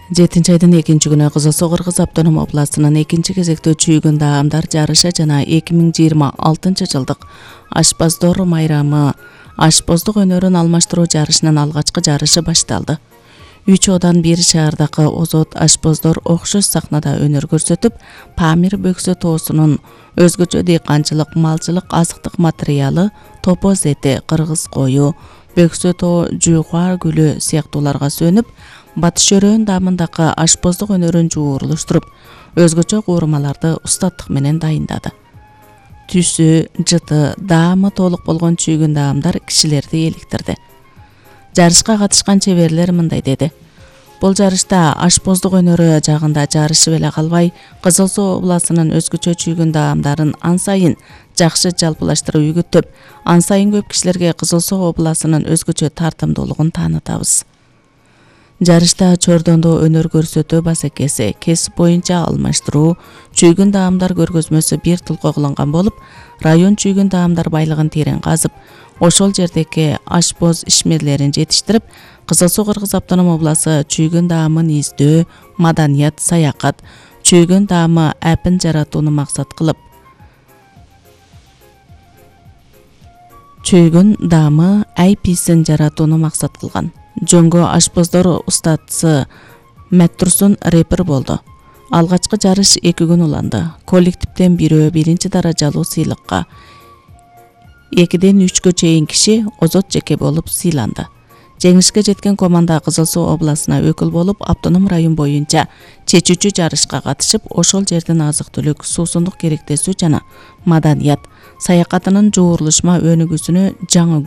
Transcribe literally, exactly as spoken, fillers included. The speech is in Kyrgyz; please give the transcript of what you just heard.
жетинчи айдын экинчи күнү Кызыл Суу Кыргыз автоном областынын экинчи кезектөө чүйгүн даамдар жарышы жана эки миң жыйырма алтынчы жылдык ашпоздор майрамы ашпоздук өнөрүн алмаштыруу жарышынын алгачкы жарышы башталды. Үч одан бир шаардагы озот ашпоздор окшош сахнада өнөр көрсөтүп, Памир бөксө тоосунун өзгөчө дыйканчылык, малчылык азыктык материалы, топоз эти, кыргыз кою, бөксө тоо, жуйкуа гүлү сыяктууларга сөнүп, батыш өрөөн даамындагы ашпоздук өнөрүн жуурулуштуруп, өзгөчө куурмаларды устаттык менен дайындады. Түсү, жыты, даамы толук болгон чүйгүн даамдар кишилерди эликтирди. Жарышка катышкан чеберлер мындай деди: Бул жарышта ашпоздук өнөрү жагында жарышып эле калбай, Кызыл Суу областынын өзгөчө чүйгүн даамдарын ан сайын жакшы жалпылаштырып үгүттөп, ан сайын көп кишилерге Кызыл Суу областынын өзгөчө тартымдуулугун таанытабыз. Жарышта чордондо өнөр көрсөтүү басекеси, кесип боюнча алмаштыруу, чүйгүн даамдар көргөзмөсү бир тулка кылынган болуп, район чүйгүн даамдар байлыгын терең казып, ошол жердеги ашпоз ишмерлерин жетиштирип, Кызыл Суу Кыргыз автоном областы чүйгүн даамын издөө, маданият, саякат, чүйгүн даамы апин жаратууну максат кылып, чүйгүн даамы айписин жаратууну максат кылган. Жөнгө ашпоздор устатысы Маттурсун репер болду. Алгачкы жарыш эки күн уланды. Коллективден бирөө биринчи даражалуу сыйлыкка, экиден үчкө чейин киши озот жеке болуп сыйланды. Жеңишке жеткен команда Кызыл Суу областына өкүл болуп, автоном район боюнча чечүүчү жарышка катышып, ошол жердин азык-түлүк, суусундук керектесүү жана маданият, саякатынын жуурулушма өнүгүүсүнө жаңы